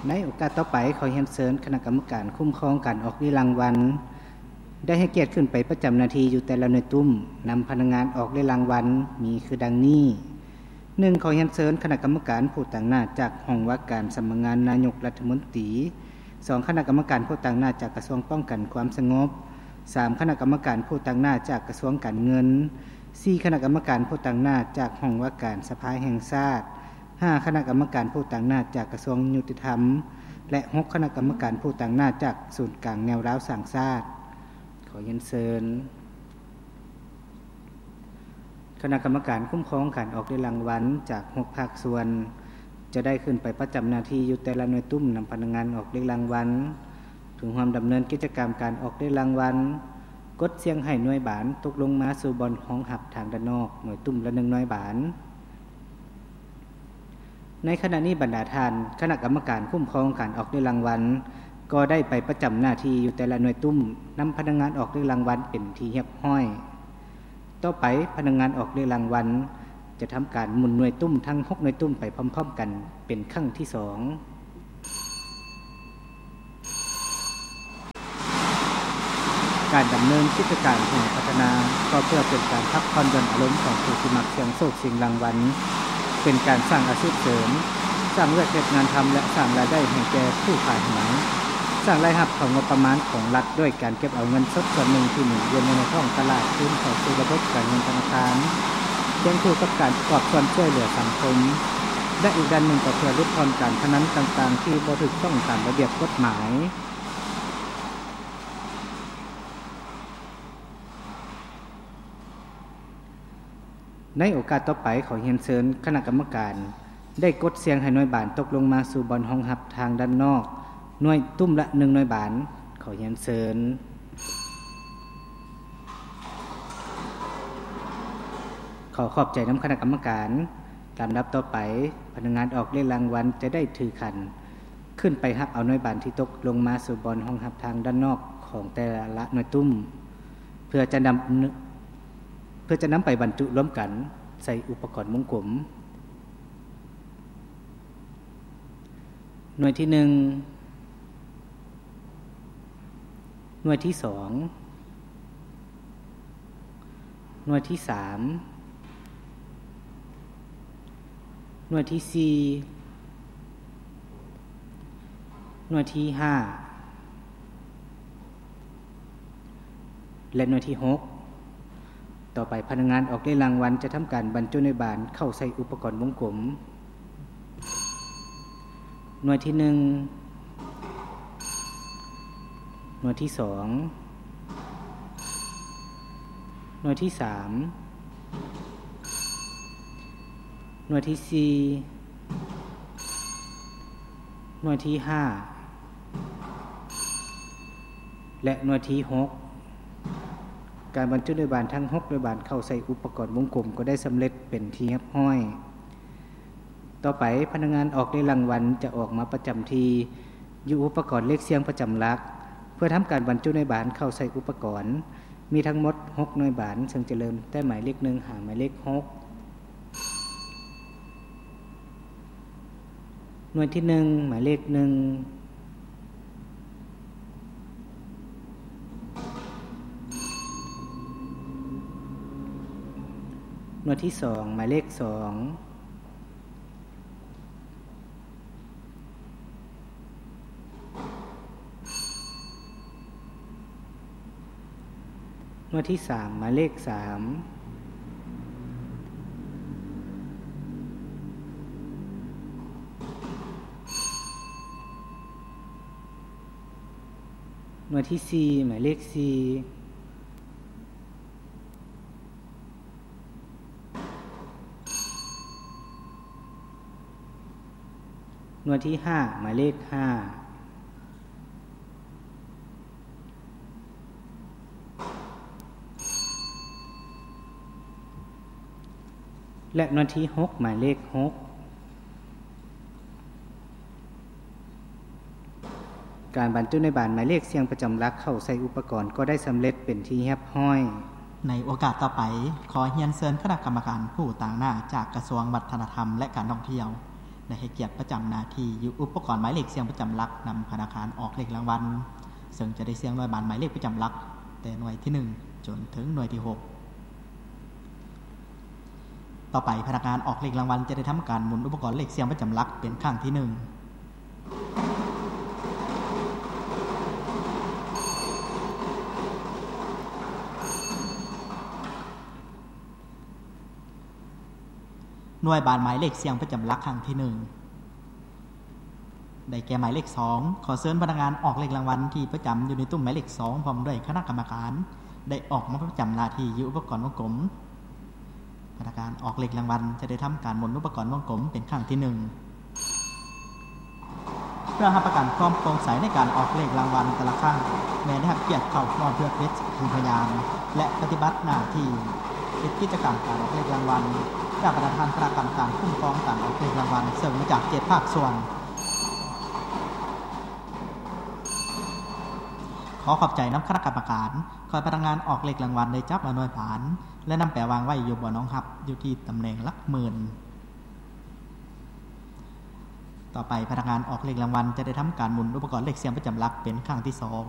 ໃນໂອກາດຕໍ່ໄປ, ຂໍຮຽນເຊີນຄະນະກຳມະການຄຸ້ມຄອງການອອກເລຍລາງວັນ ໄດ້ໃຫ້ກຽດຂຶ້ນໄປປະຈຳໜ້າທີ່ຢູ່ແຕ່ລະໜ່ວຍຕຸ້ມ ນຳພະນັກງານອອກເລຍລາງວັນ ມີຄືດັ່ງນີ້: ໜຶ່ງ ຂໍຮຽນເຊີນຄະນະກຳມະການຜູ້ຕາງໜ້າຈາກຫ້ອງວ່າການສຳນັກງານນາຍົກລັດຖະມົນຕີ, ສອງ ຄະນະກຳມະການຜູ້ຕາງໜ້າຈາກກະຊວງປ້ອງກັນຄວາມສະຫງົບ, ສາມ ຄະນະກຳມະການຜູ້ຕາງໜ້າຈາກກະຊວງການເງິນ, ສີ່ ຄະນະກຳມະການຜູ້ຕາງໜ້າຈາກຫ້ອງວ່າການສະພາແຫ່ງຊາດ, ຫ້າ ຄະນະກຳມະການຜູ້ຕາງໜ້າຈາກກະຊວງຍຸຕິທຳ ແລະ ຫົກ ຄະນະກຳມະການຜູ້ຕາງໜ້າຈາກສູນກາງແນວລາວສ້າງຊາດ. ຂໍຮຽນເຊີນຄະນະກຳມະການຄຸ້ມຄອງການອອກເລຍລາງວັນຈາກຫົກພາກສ່ວນ ຈະໄດ້ຂຶ້ນໄປປະຈຳໜ້າທີ່ຢູ່ແຕ່ລະໜ່ວຍຕຸ້ມ ນຳພະນັກງານອອກເລຍລາງວັນ ເພື່ອຮ່ວມດຳເນີນກິດຈະກຳການອອກເລຍລາງວັນ, ກົດສ່ຽງໃຫ້ໜ່ວຍບານຕົກລົງມາສູ່ບ່ອນຮອງຮັບທາງດ້ານນອກ, ໜ່ວຍຕຸ້ມລະໜຶ່ງໜ່ວຍບານ. ໃນຂະນະນີ້, ບັນດາທ່ານຄະນະກຳມະການຄຸ້ມຄອງການອອກເລຍລາງວັນ ກໍໄດ້ໄປປະຈຳໜ້າທີ່ຢູ່ແຕ່ລະໜ່ວຍຕຸ້ມ, ນຳພະນັກງານອອກເລຍລາງວັນເປັນທີ່ຮຽບຮ້ອຍ. ຕໍ່ໄປ, ພະນັກງານອອກເລຍລາງວັນຈະທຳການໝູນໜ່ວຍຕຸ້ມທັງຫົກໜ່ວຍຕຸ້ມໄປພ້ອມໆກັນເປັນຄັ້ງທີສອງ. ການດຳເນີນກິດຈະການຫອພັດທະນາ ກໍເພື່ອເປັນການພັກຜ່ອນຢ່ອນອາລົມຂອງຜູ້ທີ່ມັກສ່ຽງໂຊກສ່ຽງລາງວັນ, ເປັນການສ້າງອາຊີບເສີມ, ສ້າງວຽກເຮັດງານທຳ ແລະ ສ້າງລາຍໄດ້ໃຫ້ແກ່ຜູ້ຂາຍຫວຍ, ສ້າງລາຍຮັບເຂົ້າງົບປະມານຂອງລັດດ້ວຍການເກັບເອົາເງິນສົດສ່ວນໜຶ່ງທີ່ໝູນວຽນຢູ່ໃນທ້ອງຕະຫຼາດຄືນເຂົ້າສູ່ລະບົບການເງິນທະນາຄານ, ຄວບຄູ່ກັບການປະກອບສ່ວນຊ່ວຍເຫຼືອສັງຄົມ ແລະ ອີກດ້ານໜຶ່ງກໍເພື່ອຫຼຸດຜ່ອນການພະນັນຕ່າງໆທີ່ບໍ່ຖືກຕ້ອງຕາມລະບຽບກົດໝາຍ. ໃນໂອກາດຕໍ່ໄປ, ຂໍຮຽນເຊີນຄະນະກຳມະການໄດ້ກົດສ່ຽງໃຫ້ໜ່ວຍບານຕົກລົງມາສູ່ບ່ອນຮອງຮັບທາງດ້ານນອກ, ໜ່ວຍຕຸ້ມລະໜຶ່ງໜ່ວຍບານ. ຂໍຮຽນເຊີນ. ຂໍຂອບໃຈນຳຄະນະກຳມະການ. ລຳດັບຕໍ່ໄປ, ພະນັກງານອອກເລຍລາງວັນຈະໄດ້ຖືຂັນ ຂຶ້ນໄປຮັບເອົາໜ່ວຍບານທີ່ຕົກລົງມາສູ່ບ່ອນຮອງຮັບທາງດ້ານນອກຂອງແຕ່ລະໜ່ວຍຕຸ້ມ ເພື່ອຈະນຳ ເພື່ອຈະນຳໄປບັນຈຸລວມກັນໃສ່ອຸປະກອນວົງກົມ. ໜ່ວຍທີໜຶ່ງ, ໜ່ວຍທີສອງ, ໜ່ວຍທີສາມ, ໜ່ວຍທີສີ່, ໜ່ວຍທີຫ້າ ແລະ ໜ່ວຍທີຫົກ. ຕໍ່ໄປ, ພະນັກງານອອກເລຍລາງວັນຈະທຳການບັນຈຸໜ່ວຍບານເຂົ້າໃສ່ອຸປະກອນວົງກົມ. ໜ່ວຍທີໜຶ່ງ, ໜ່ວຍທີສອງ, ໜ່ວຍທີສາມ, ໜ່ວຍທີສີ່, ໜ່ວຍທີຫ້າ ແລະ ໜ່ວຍທີຫົກ. ການບັນຈຸໜ່ວຍບານທັງຫົກໜ່ວຍບານເຂົ້າໃສ່ອຸປະກອນວົງກົມກໍໄດ້ສຳເລັດເປັນທີ່ຮຽບຮ້ອຍ. ຕໍ່ໄປ, ພະນັກງານອອກເລຍລາງວັນຈະອອກມາປະຈຳທີ່ຢູ່ອຸປະກອນເລກສ່ຽງປະຈຳຫຼັກ ເພື່ອທຳການບັນຈຸໜ່ວຍບານເຂົ້າໃສ່ອຸປະກອນ. ມີທັງໝົດຫົກໜ່ວຍບານ, ເຊິ່ງຈະເລີ່ມແຕ່ໝາຍເລກໜຶ່ງຫາໝາຍເລກຫົກ. ໜ່ວຍທີໜຶ່ງ ໝາຍເລກໜຶ່ງ, ໜ່ວຍທີສອງ ໝາຍເລກສອງ, ໜ່ວຍທີສາມ ໝາຍເລກສາມ, ໜ່ວຍທີສີ່ ໝາຍເລກສີ່, ໜ່ວຍທີຫ້າ ໝາຍເລກຫ້າ ແລະ ໜ່ວຍທີຫົກ ໝາຍເລກຫົກ. ການບັນຈຸໜ່ວຍບານໝາຍເລກສ່ຽງປະຈຳຫຼັກເຂົ້າໃສ່ອຸປະກອນກໍໄດ້ສຳເລັດເປັນທີ່ຮຽບຮ້ອຍ. ໃນໂອກາດຕໍ່ໄປ, ຂໍຮຽນເຊີນຄະນະກຳມະການຜູ້ຕາງໜ້າຈາກກະຊວງວັດທະນະທຳ ແລະ ການທ່ອງທ່ຽວ ໄດ້ໃຫ້ກຽດປະຈຳໜ້າທີ່ຢູ່ອຸປະກອນໝາຍເລກສ່ຽງປະຈຳຫຼັກນຳພະນັກງານອອກເລກລາງວັນ, ເຊິ່ງຈະໄດ້ສ່ຽງໜ່ວຍບານໝາຍເລກປະຈຳຫຼັກ ແຕ່ໜ່ວຍທີໜຶ່ງຈົນເຖິງໜ່ວຍທີຫົກ. ຕໍ່ໄປ, ພະນັກງານອອກເລກລາງວັນຈະໄດ້ທຳການໝູນອຸປະກອນເລກສ່ຽງປະຈຳຫຼັກເປັນຄັ້ງທີໜຶ່ງ. ໜ່ວຍບານໝາຍເລກສ່ຽງປະຈຳຫຼັກຄັ້ງທີໜຶ່ງ ໄດ້ແກ່ໝາຍເລກສອງ. ຂໍເຊີນພະນັກງານອອກເລກລາງວັນທີ່ປະຈຳຢູ່ໃນຕຸ້ມໝາຍເລກສອງ ພ້ອມດ້ວຍຄະນະກຳມະການ ໄດ້ອອກມາປະຈຳໜ້າທີ່ຢູ່ອຸປະກອນວົງກົມ. ພະນັກງານອອກເລກລາງວັນຈະໄດ້ທຳການໝູນອຸປະກອນວົງກົມເປັນຄັ້ງທີໜຶ່ງ. ເພື່ອຮັບປະກັນຄວາມໂປ່ງໃສໃນການອອກເລກລາງວັນແຕ່ລະຄັ້ງ, ແມ່ນໄດ້ຮັບກຽດເຂົ້າຮ່ວມເພື່ອເປັນສັກຂີພະຍານ ແລະ ປະຕິບັດໜ້າທີ່ເຮັດກິດຈະກຳການອອກເລກລາງວັນ ຈາກບັນດາທ່ານຄະນະກຳມະການຄຸ້ມຄອງການອອກເລກລາງວັນ ເຊິ່ງມາຈາກເຈັດພາກສ່ວນ. ຂໍຂອບໃຈນຳຄະນະກຳມະການ. ຂ້ອຍພະນັກງານອອກເລກລາງວັນໄດ້ຈັບເອົາໜ່ວຍບານ ແລະ ນຳໄປວາງໄວ້ຢູ່ບ່ອນຮອງຮັບ ຢູ່ທີ່ຕຳແໜ່ງຫຼັກໝື່ນ. ຕໍ່ໄປ, ພະນັກງານອອກເລກລາງວັນຈະໄດ້ທຳການໝູນອຸປະກອນເລກສ່ຽງປະຈຳຫຼັກເປັນຄັ້ງທີສອງ.